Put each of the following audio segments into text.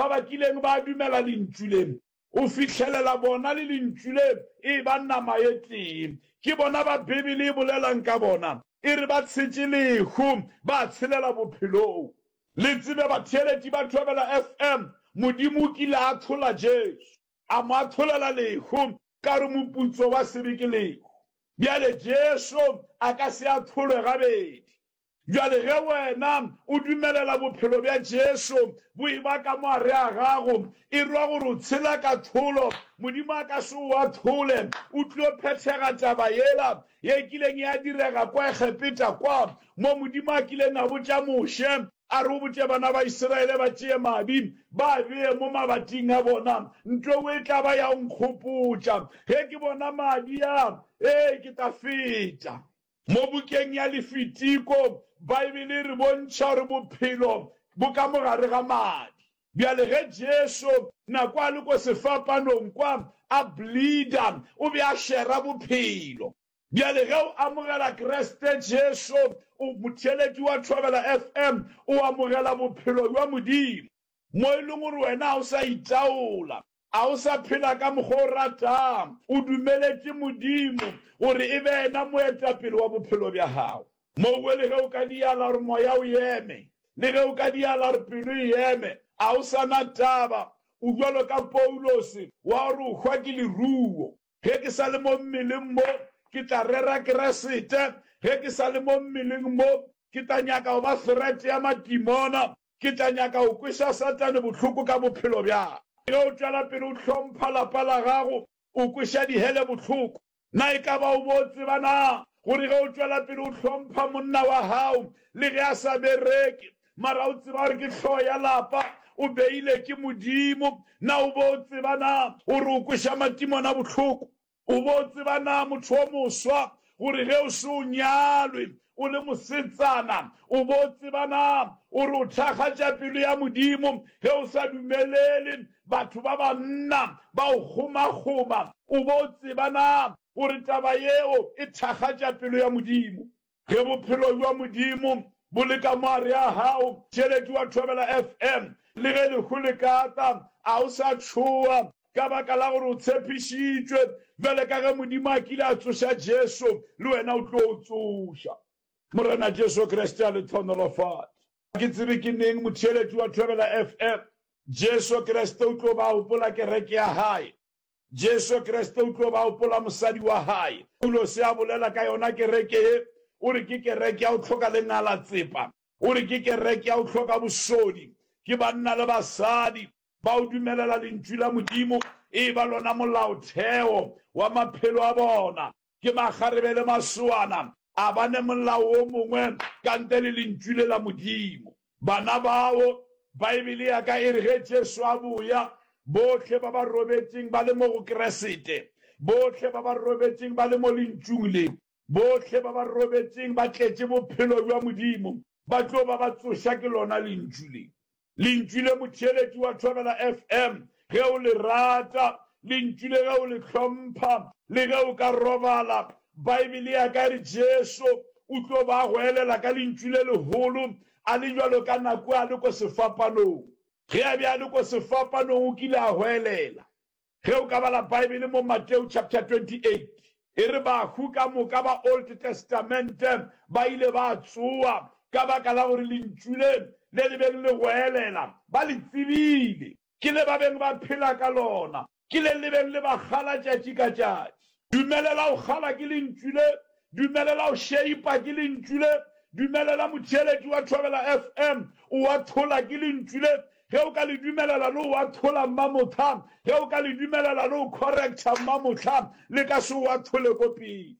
ba ba kileng ba dumela Lentšu le, go fihlelela bona le Lentšu le e eba nama e tee. Ke bona ba Bibele e bolelang ka bona, e re ba tshetše lehu, ba tshelela bophelong. Le tsebe batheeletši ba Thobela FM, Modimo o kile a ahlola Jesu, a mo ahlolela lehu, ka gore moputso wa sebe ke lehu. Bjale Jesu a ka se ahlolwe gabedi. Bjale ge wena o dumelela bophelo bja Jesu bo eba ka mo gare a gago, e rwa gore o tshela kahlolo. Modimo a ka se o ahlole. O tlo phethega taba yela ye kileng ya direga kwa Egepeta kwa, mo Modimo a kileng a botša Moshe, a re o botše bana ba Isiraele ba tšee madi ba a bee mo mabating a bona. Ntlo e tla ba ya go nkgopotša. Ge ke bona madi a, ee, ke tla feta. Mo bukeng ya Lefitiko, Baebele e re bontšha gore bophelo bo ka mo gare ga madi. Bjale ge Jesu, nako a le ko sefapanong kwa, a bleeda, o be a shera bophelo. Bjale ge o amogela Kriste Jesu, o motheeletši wa Thobela FM, o amogela bophelo bja Modimo. Mo e leng gore wena ga o sa itaola, A o sa phela ka mokgwa o ratang? O dumeletše Modimo gore e be yena moetapele wa bophelo bja gago. Mowe le ge o ka diala gore moya o eme, le ge o ka diala gore pelo e eme, a o sa na taba. O bjalo ka Paulose wa gore o hwa ke leruo. Ge ke sa le mo mmeleng mo, ke tla rera Keresete. Ge ke sa le mo mmeleng mo, ke tla nyaka go ba threat ya matimona. Ke tla nyaka go kweša Satane bohloko ka bophelo bja ka. Ge o tšwela pele o hlompha lapa la gago, o kweša dihele bohloko. Na e ka ba o bo o tseba na gore ge o tšwela pele o hlompha monna wa gago le ge a sa bereke, mara o tseba gore ke hlogo ya lapa, o beile ke Modimo, na o bo o tseba na gore o kweša matimona bohloko? O bo tseba na motho o moswa gore ge o se o nyalwe o le mosetsana, o bo tseba na gore o thakgatša pelo ya Modimo ge o sa dumelele batho ba banna ba o kgomakgoma? O bo tseba na gore taba yeo e thakgatša pelo ya Modimo? Ge bophelo bja Modimo bo le ka mo gare ga gago, theeletši wa Thobela FM, le ge lehu le ka tla, a o sa tšhoga, ka baka la gore o tshepišitšwe, bjale ka ge Modimo a kile a tsoša Jesu, le wena o tlo o tsoša. Morena Jesu Kriste a le hlohonolofatše. Ga ke tsebe ke neng, motheeletši wa Thobela FM, Jesu Kriste o tlo ba gopola kereke ya Hae. Jesu Kriste o tlo ba gopola mosadi wa hae. Paulose a bolela ka yona kereke ye, o re ke kereke ya go hloka lengalatsepa, o re ke kereke ya go hloka bosodi, ke banna le basadi ba go dumelela Lentšu la Modimo e eba lona molaotheo wa maphelo a bona. Ke makgarebe le masoana, a ba ne molao wo mongwe ka ntle le Lentšu le la Modimo. Bana bao, Baebele ya ka e re ge Jesu a boya, bohle ba ba robetšeng ba le mo go Keresete, bohle ba ba robetšeng ba le mo Lentšung le, bohle ba ba robetšeng ba tletše bophelo bja Modimo, ba tlo ba ba tsoša ke lona Lentšu le. Lentšu le motheeletši wa Thobela FM, ge o le rata, Lentšu le ge o le hlompha, le ge o ka robala, Baebele ya ka e re Jesu o tlo ba a goelela ka lentšu le legolo, a le bjalo ka nako a le ko sefapanong. Ge a be a le ko sefapanong o kile a goelela. Ge o ka bala Baebele mo Mateo chapter 28, e re bahu ka moka ba Old Testament ba ile ba tsoa ka baka la gore lentšu le le le beng le goelela ba le tsebile. Ke le ba beng ba phela ka lona. Ke le le beng le ba kgala tšatši ka tšatši. Dumelela go kgala ke lentšu le. Dumelela go šeipa ke lentšu le. Dumelela motheeletši wa Thobela FM o athola ke lentšu le. Ge o ka le dumelela le o athola mmamohla, ge o ka le dumelela le o correcta mmamohla, le ka se o athole ko pele.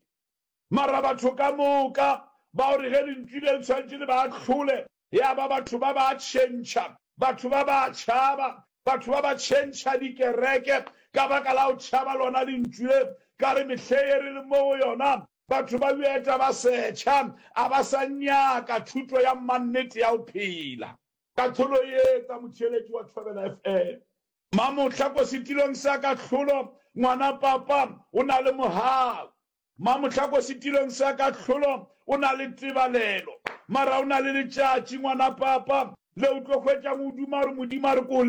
Mara batho ka moka ba gore ge lentšu le le tshwanetše le ba ahlole, ya ba batho ba ba tšhentšha, batho ba ba tšhaba, batho ba ba tšhentšha dikereke ka baka la go tšhaba lona lentšu le. Ka re mehleng ye re leng mo go yona, batho ba bjeta ba setšha, a ba sa nyaka thuto ya mannete ya go phela. Kahlolo e etsa motheeletši wa Thobela FM. Mamohla ko setilong sa kahlolo, ngwana papa o na le mogau. Mamohla ko setilong sa kahlolo o na le tebalelo. Mara o na le letšatši ngwana papa le o tlo hwetšang o duma gore Modimo a re ko.